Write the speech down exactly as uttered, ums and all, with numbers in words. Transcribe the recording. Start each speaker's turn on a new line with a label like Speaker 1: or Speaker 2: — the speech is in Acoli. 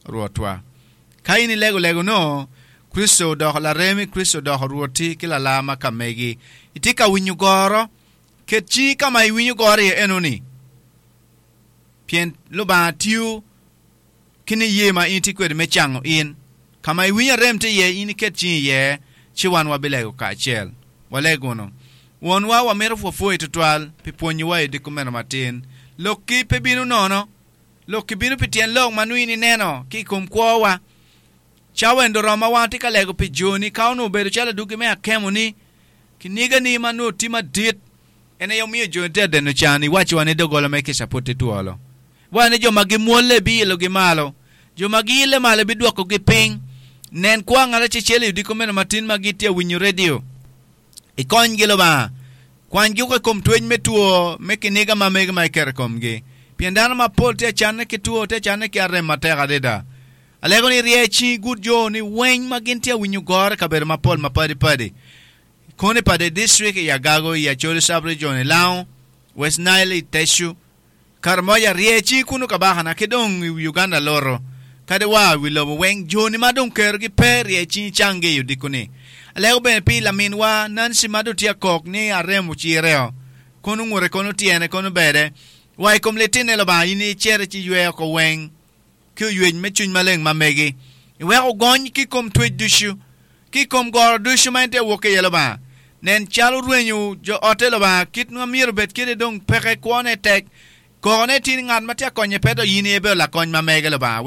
Speaker 1: Rwotwa. Ka in ilego lego no, Kricito odoko laremi, Kricito odoko rwoti ki lalar ma ka megi. Itye ka winyo goro, ket cingi ka ma iwinyo goro iye enoni. Pien Lubanga tiyo ki niye ma in itye kwede me cango in. Ka ma iwinyo arem tye iye, in iket cingi iye, ci wan wabilego kacel. Waleg wunu. Wonwa, wamito pwopwoyi tutwal pi pwonyowa i odiko meno matin. Lokki pe bino nono. Lokki bino pi tyen lok ma nongo in ineno ki i kom kwowa. Cawa eni oromo ma wan watye ka lego pi joni ka onongo obedo calo adwogi me akemoni, kinigani ma nongo tye madit, en aye omiyo joni tye ka deno can. Iwacciwa ni doggola me kica pud tye twolo. Iwaco ni jo ma gimwolle ibiilogi malo, jo ma giille malo ibidwokogi piny. Nen kwa ngat acecel i odiko meno matin ma gitye ka winyo redio. Ikonygi, Lubanga. Kwanygi woko i kom twec me two me kiniga ma mege ma iketo i komgi. Pien dano mapol tye ka canne ki two, tye ka canne ki arem matek adada. Alego ni irye cingi igud jo-ni weng ma gin tye ka winyo goro i kabedo mapol mapadipadi. Kono i Pader District, i Agago, i Acholi Sub-Region, i Lango, West Nile, i Tecu, Karamoja, rye cingi kunu kabakana ki dong i Uganda loro, kadi wa i wi lobo weng, jo-ni ma dong kerogi pe, rye cingi canggi i odiko-ni. Alego bene pi laminwa Nancy ma dong tye akok ni arem ocireo, kono ngute, kono tyene, kono bede, wa i kom litinne Lubanga in icit ci iywe oko weng ki oywec me cwiny maleng ma megi, iwek ogony ki i kom twec ducu, ki i kom goro ducu ma en tye awok ki iye Lubanga. Nen calo rwenyo jo otte Lubanga, kit ma myero obed kwede dong peke, kwone tek, kokone tye ni ngat ma tye ka konye pe to in aye ibedo lakony ma mege Lubanga.